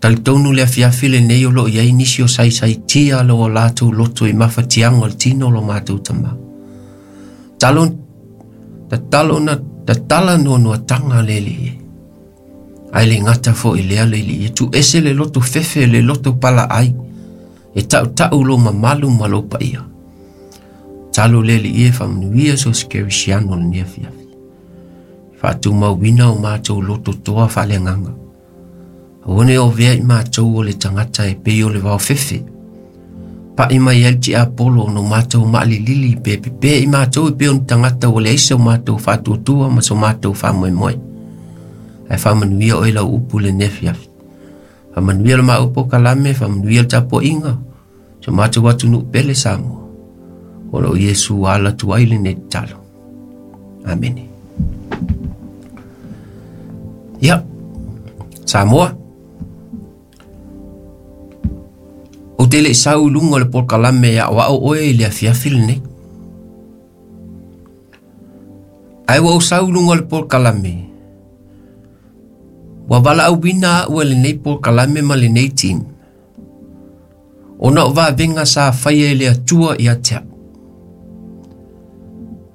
Talitonu le afiafi lenei o lo o i ai nisi o saisaitia lo o latou loto i mafatiaga o le tino o lo matou tama. Talo, tatalo na tatala noanoataga le Alii e. Ae le gata foi i lea le Alii e, tuuese le loto fefe le loto palaai, e tautau lou mamalu ma lou paia. Talo le Alii e faamanuia so se kerisiano lenei afiafi. Faatumauina o matou loto toa faaleagaga. Aua ne ovea i matou o le tagata e pei o le vaofefe. Pa'i mai ai le tiapolo ona o matou maalilili pe pepē i matou e pei o ni tagata ua leai so matou faatuatua ma so matou faamoemoe. Ae faamanuia oe lau upu i lenei afiafi. Faamanuia le maua polokalame, faamanuia le tapuaiga, so matou atunuu pele Samoa. O lo o Iesu ala atu ai lenei tatalo. Amene. Ia, Samoa, ou te le i sau i luga o le polokalame e aoao oe i le afiafi lenei. Ae ua ou sau i luga o le polokalame, ua valaauina au e lenei polokalame ma lenei team, ona o vavega sa faia e le Atua ia te au.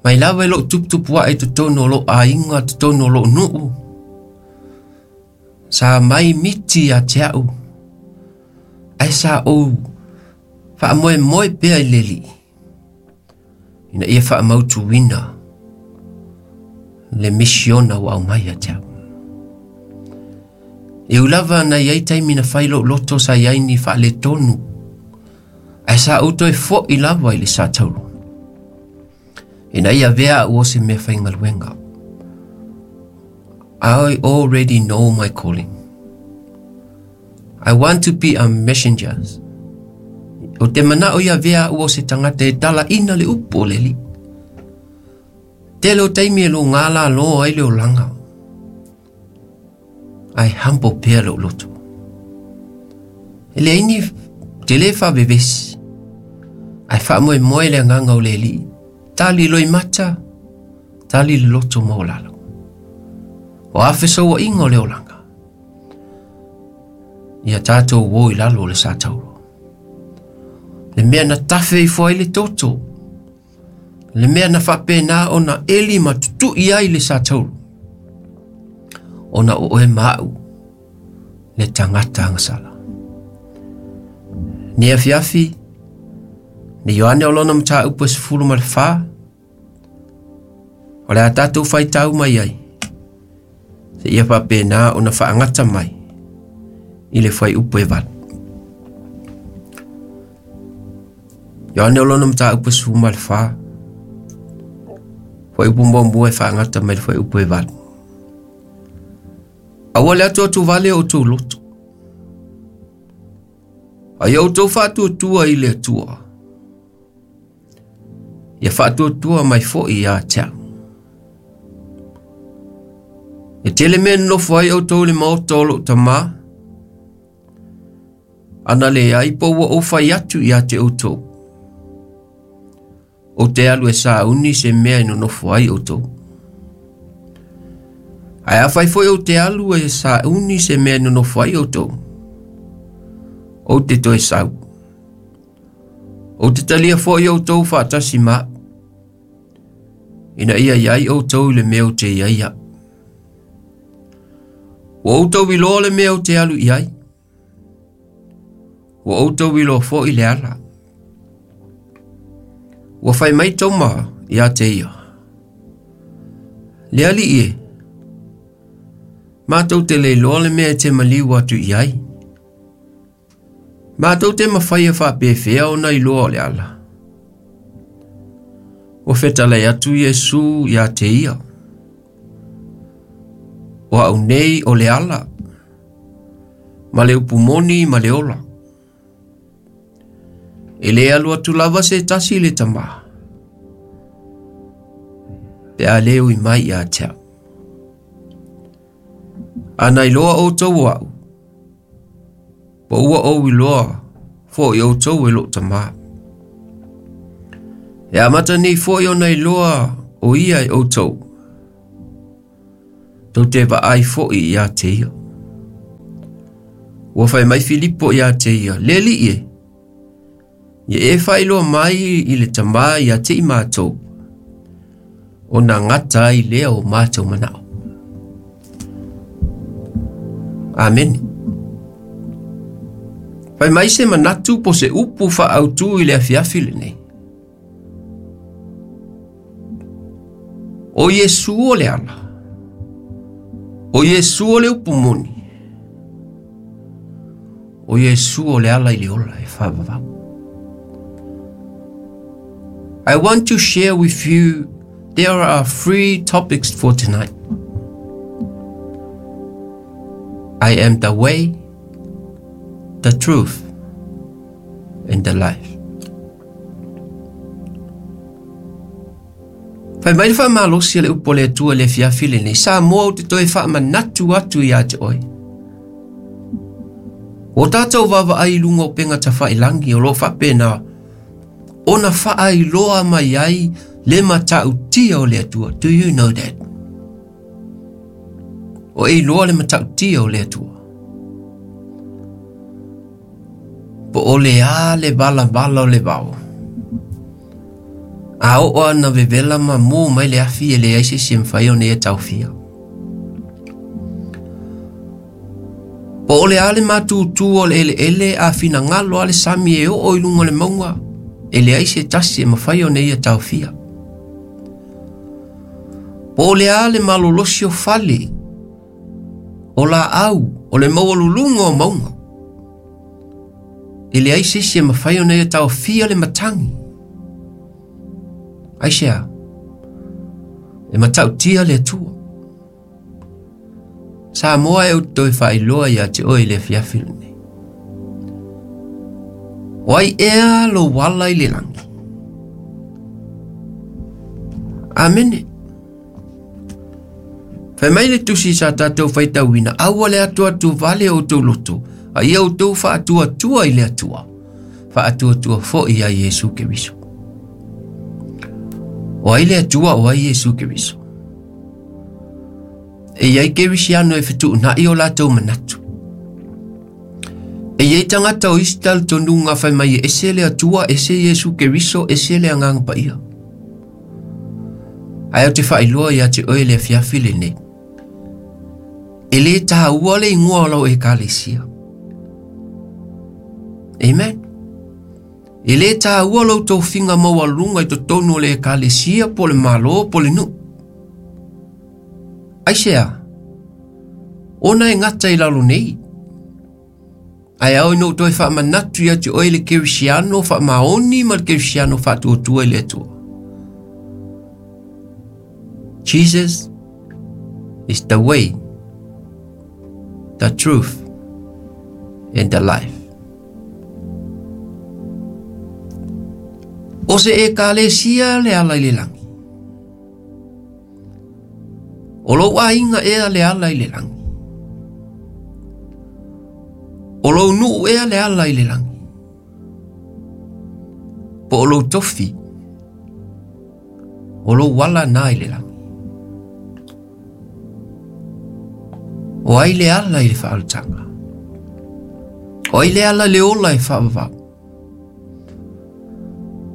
Mai lava i lou tuputupu ae i totonu o lou aiga, totonu o lou nuu, sa mai miti ia te au, ae sa ou faamoemoe pea i le Alii, ina ia faamautuina le misiona ua aumai ia te au. E ui lava na i ai taimi na fai lou loto sa i ai ni faaletonu, ae sa ou toe fo'i lava i le sa taulu, ina ia avea au o se mea faigaluega. I already know my calling. I want to be a messenger. O te manao ia avea au o se tagata e talaina le upu o le Alii. Tele o taimi e logā lalo ai le olaga. Ae humble pea lou loto. E leai ni te le faavevesi. Ae faamoemoe le agaga o le Alii. Tali loimata, tali le loto maualalo. O a fesauaiga o le olaga. Ia tatou o i lalo o le sa tauro. Le mea na tafe ifo ai le toto. Le mea na faapena ona eli ma tutui ai le sa tauro. Ona o oe ma au le tagata agasala. Nei afiafi, ne Ioane o lona mataupu e 14, o le a tatou faitau mai ai, seia faapena ona faagata mai i le fuaiupu e 8. Ioane o lona mataupu e 14, fuaiupu muamua e faagata mai le fuaiupu e 8. Aua le atuatuvale o outou loto. A ia outou faatuatua i le Atua. Ia faatuatua mai foi ia te au. E tele mea nonofo ai outou i le maota o lou tamā, ana leai po ua ou fai atu ia te outou. Ou te alu e sauni se mea e nonofo ai outou. Ae afai foi ou te alu e sauni se mea e nonofo ai outou, ou te toe sau. Ou te talia foi outou faatasi ma au, ina ia i ai outou i le mea ou te i ai au. Ua outou iloa le mea ou te alu i ai, ua outou iloa foi le ala. Ua fai mai Toma ia te ia, Le Alii e, matou te le iloa le mea e te maliu atu i ai. Matou te mafai e faapefea ona iloa o le ala. Ua fetalai atu Iesu ia te ia, O au nei o le ala, ma le upu moni ma le ola. E le alu atu lava se tasi i le Tamā, pe a le ui mai ia te au. Ana iloa outou o au, po ua ou iloa foi outou e lou Tamā. E amata nei foi ona iloa o ia e outou, tou te vaai foi ia te ia. Ua fai mai Filipo ia te ia, Le Alii e, ia e faailoa mai i le Tamā ia te i matou, ona gata ai lea o matou manao. Amene. Fai mai se manatu po se upu faaautu i le afiafi lenei. O Iesu o le ala. O Iesu o le upu moni. O Iesu o le ala i le ola e faavavau. I want to share with you there are three topics for tonight. I am the way, the truth, and the life. Fai mai le faamalosi a le upu a le Atua i le afiafi lenei, Samoa ou te toe faamanatu atu ia te oe. Ua tatou vaavaai i luga o upega tafailangi o lo o faapena ona faailoa mai ai le matautia o le Atua. Do you know that? O e iloa le matautia o le Atua. Po o le a le valavala o le vao. A oo ana vevela ma mū mai le afi e leai se isi e mafai ona ia taofia. Po o le a le matutū o le eleele a finagalo a le sami e oo i luga o le mauga, e leai se tasi e mafai ona ia taofia. Po o le a le malolosi o fale, o laau, o le maualuluga o mauga, e leai se isi e mafai ona ia taofia le matagi. Aisea? E matautia le Atua. Samoa e ou te toe faailoa ia te oe i le afiafi lenei. O ai ea lou ala i le lagi? Amene. Fai mai le tusi sa tatou faitauina, aua le atuatu vale o outou loto, a ia outou faatuatua i le Atua, faatuatua foi ia Iesu Keriso. O ai le Atua, o ai Iesu Keriso? E i ai Kerisiano e fetuunai o latou manatu. E i ai tagata o isi talitonuga fai mai e ese le Atua, ese Iesu Keriso, ese le Agaga Paia. Ae ou te faailoa ia te oe le afiafi lenei. E le tāua le ingoa o lau ekalesia. Amen. E le tāua lou tofiga maualuluga i totonu o le ekalesia po o le Malo po o le nuu. Aisea? Ona e gata i lalo nei. Ae ao ina ou toe faamanatu ia te oe le Kerisiano faamaoni ma le Kerisiano faatuatua i le Atua. Jesus is the way, the truth, and the life. O se ekalesia le ala i le lagi. O lou aiga ea le ala i le lagi. O lou nuu ea le ala i le lagi. Po o lou tofi. O lou ala na i le lagi. O ai le ala i le faaolataga? O ai le ala i le ola e faavavau?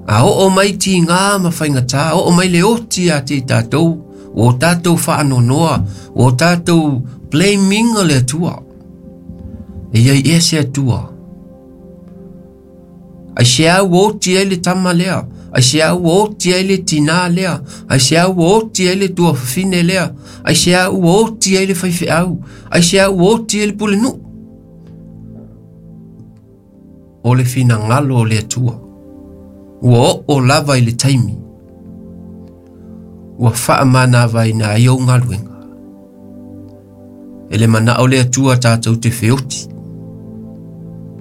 A oo mai tigā ma faigata, oo mai le oti ia te i tatou, ua o tatou faanoanoa, ua o tatou blaming le Atua. E i ai ea se Atua? Aisea ua oti ai le tama lea? Aisea ua oti ai le tinā lea? Aisea ua oti ai le tuafafine lea? Aisea ua oti ai le faifeau? Aisea ua oti ai le pulenuu? O le finagalo o le Atua. Ua oo lava i le taimi ua faamanavaina ai ou galuega. E le manao le Atua tatou te feoti.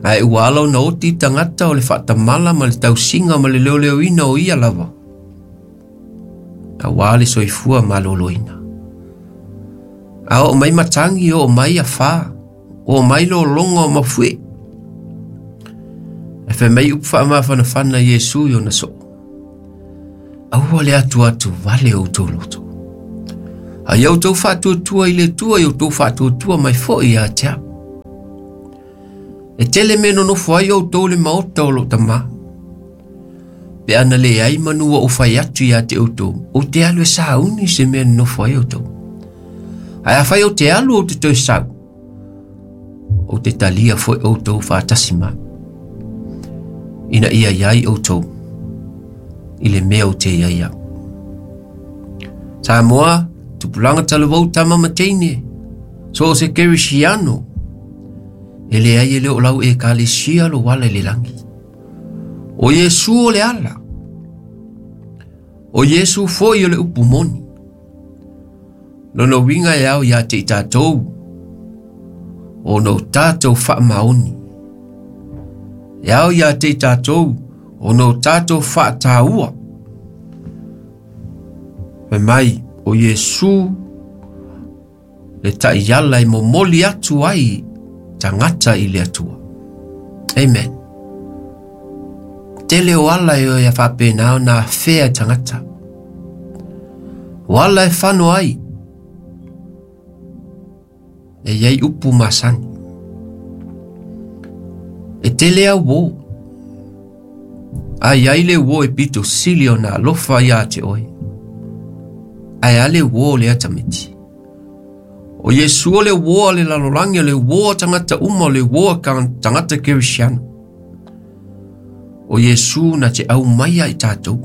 Ae ua ala ona oti tagata o le faatamala ma le tausiga ma le leoleoina o ia lava. Aua le soifua maloloina. A oo mai matagi, oo mai afa, oo mai lologa o mafuie. Ae fai mai upu faamafanafana Iesu i ona soo. Aua le atuatu vale o outou loto. A ia outou faatuatua i le Atua, ia outou faatuatua mai foi ia te au. E tele mea e nonofo ai outou i le maota o lou Tamā. Pe ana leai manu ua ou fai atu ia te outou, ou te alu e sauni se mea e nonofo ai outou. Ae afai ou te alu ou te toe sau, ou te talia foi outou faatasi mai, ina ia i ai outou i le mea ou te i ai au. Samoa, tupulaga talavou tama ma teine, so o se kerisiano, e leai e le o lau ekalesia lou ala i le lagi. O Iesu o le ala. O Iesu foi o le upu moni. Lona uiga e ao ia te i tatou, ona o tatou faamaoni. E ao ia te i tatou, ona o tatou faataua. Fai mai, o Iesu le taiala e momoli atu ai tagata i le Atua. Amen. Tele o ala e oe a faapena ona afea e tagata. O ala e fano ai, e iai upu masani. E tele au uō. A iai le uō e pito sili ona alofa ia te oe. Ae a le uō lea tamaiti. O Iesu o le uō a le lalolagi, o le uō a tagata uma, o le uō a tagata kerisiano. O Iesu na te aumaia i tatou.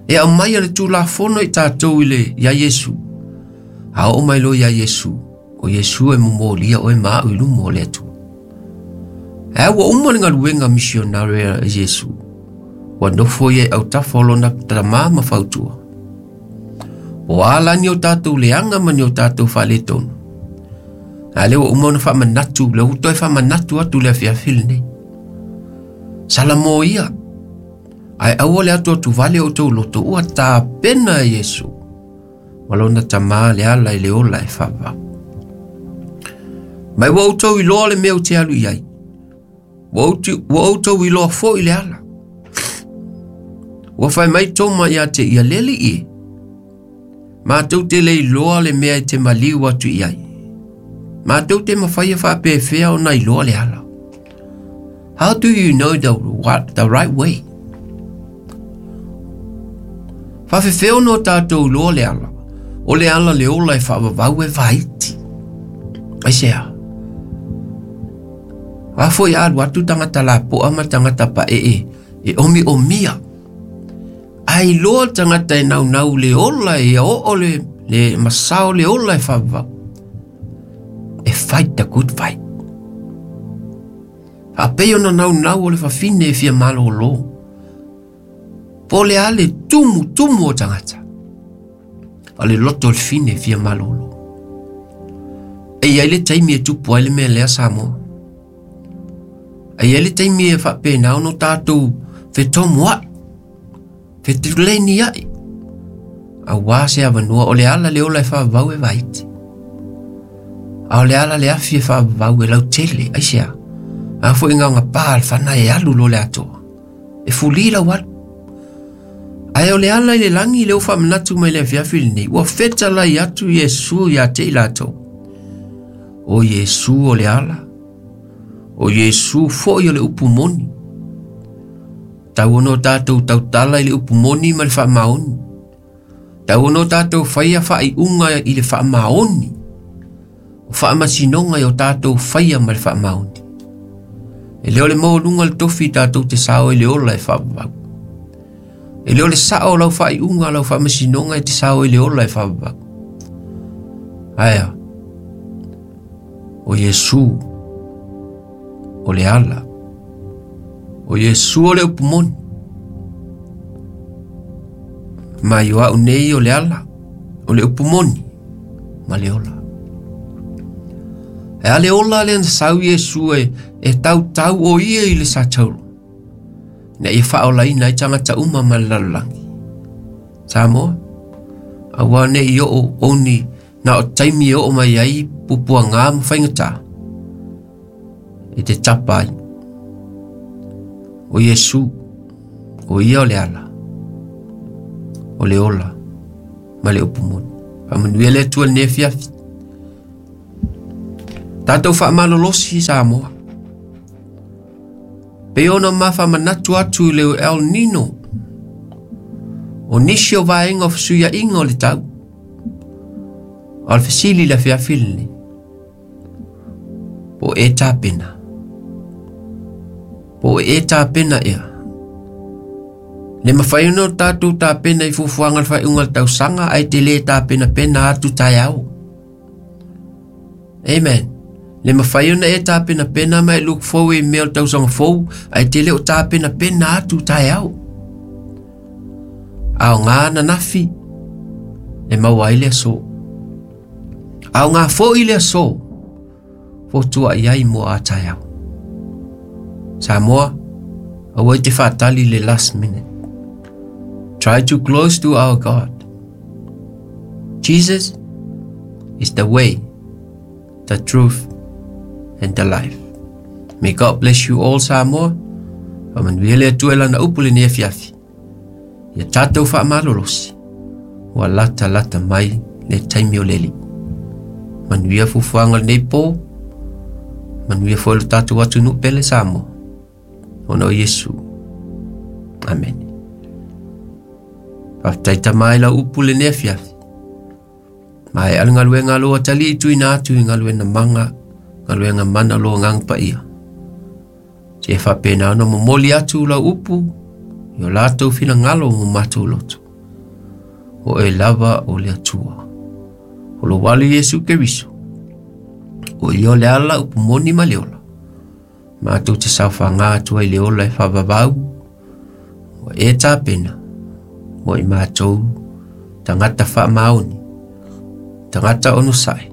E aumaia le Tulafono i tatou i le ia Iesu. A oo mai loa ia Iesu, o Iesu e momolia oe ma au i luma o le Atua. Ae ua uma le galuega misionare a Iesu. Ua nofo ia i autafa o lona Tamā ma fautua. O a la ni o tatou leaga ma ni o tatou faaletonu. A lea ua uma ona faamanatu, lea ua toe faamanatu atu le afiafi lenei. Salamo ia, ae aua le atuatuvale o outou loto, ua tapena e Iesu ma lona Tamā le ala i le ola e faavavau. Mai ua outou iloa le mea ou te alu i ai. Ua outou iloa foi le ala. Ua fai mai Toma ia te ia, Le alii e, matou te le iloa le mea e te maliu atu i ai. Matou te mawhai e whaapefea ona iloa le ala. How do you know the, what, the right way? Whawhewheo no tātou loa le ala. O le ala le ola e whaavavau e vaiti. Ai se a? A foi alu atu tangata lapoa ma tangata paee e omi omia. Ai loa le tagata e naunau le ola e oo le, le masao le ola e faavavau. E fight the good fight. Faapei ona naunau o le fafine e fia malōlō. Po o le a le tumu tumu o tagata. O le loto o le fine e fia malōlō. E i ai le taimi e tupu ai le mea lea Samoa. E i ai le taimi e faapena ona o tatou fetomua'i, fetulenia'i, auā se avanoa, o le ala le ola e faavavau e vaiti. A o le ala le afi e faavavau e lautele, aisea? A foi gaogapā le fana e alu loa le atoa. E fulī lau alu. Ae o le ala i le lagi lea ua faamanatu mai i le afiafi lenei, ua fetalai atu Iesu ia te i latou. O Iesu o le ala, o Iesu foi o le upu moni. Tau ona o tatou tautala i le upu moni ma le faamaoni. Tau ona o tatou faia faaiuga i le faamaoni. O faamasinoga i o tatou faia ma le faamaoni. E le o le maualuga o le tofi tatou te sao i le ola e faavavau. E le o le sao o lau faaiuga, lau faamasinoga e te sao i le ola e faavavau. Ae a? O Iesu o le ala. O Iesu o le upu moni. Mai o au nei o le ala, o le upu moni ma le ola. E a le ola lea na sau Iesu e, e tautau o ia i le satauro. Ina ia faaolaina ai tagata uma ma le lalolagi. Samoa, aua ne i oo oni na o taimi e oo mai ai pupuagā ma faigata e te tapa ai. O Iesu, o ia o le ala, o le ola ma le upu moni. Faamanuia le Atua i lenei afiafi. Tatou faamalolosi Samoa. Pei ona ma faamanatu atu i le El Nino, o nisi o vaega o fesuiaiga o le tau. O le fesili i le afiafi lenei, po o e tapena? Po o e tapena ea? Le mafai ona o tatou tapena i fuafuaga o le faaiuga o le tausaga ae te le tapenapena atu taeao. Amen. Le mafai ona e tapenapena ma e look forward i mea o le tausaga fou ae te le o tapenapena atu taeao. Aoga ananafi e maua ai le aso. Aoga foi le aso fotua'i ai mo a taeao. Samoa, aua e te faatali le last minute. Try to close to our God. Jesus is the way, the truth, and the life. May God bless you all, Samoa. Faamanuia le Atua i lana upu lenei afiafi. Ia tatou faamalolosi, ua latalata mai le taimi o le Alii. Manuia fuafuaga o lenei po, manuia foi lo tatou atunuu pele Samoa, ona o Iesu. Amene. Faafetai Tama i lau upu lenei afiafi. Maea le galuega a lou atalii tuuina atu i galuega maga, galuega mana o lou Agaga Paia. Seia faapena ona momoli atu lau upu i o latou finagalo ma matou loto. O oe lava o le Atua. O lou Alo Iesu Keriso. O ia o le ala, upu moni ma le ola. Matou te saofaga atu ai le ola e faavavau, ua e tapena mo i matou tagata faamaoni, tagata onosai,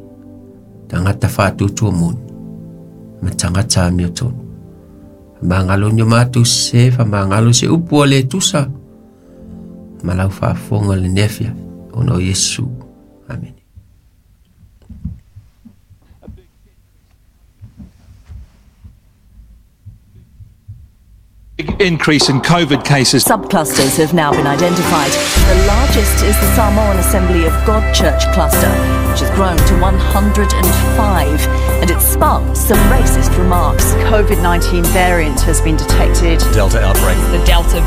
tagata faatuatua moni, ma tagata amiotonu. Faamagalo ni o matou sese, faamagalo se upu ua le tusa ma lau faafofoga i lenei afiafi, ona o Iesu. Amene. Increase in COVID cases. Subclusters have now been identified. The largest is the Samoan Assembly of God Church cluster, which has grown to 105, and it sparked some racist remarks. COVID-19 variant has been detected. Delta outbreak. The Delta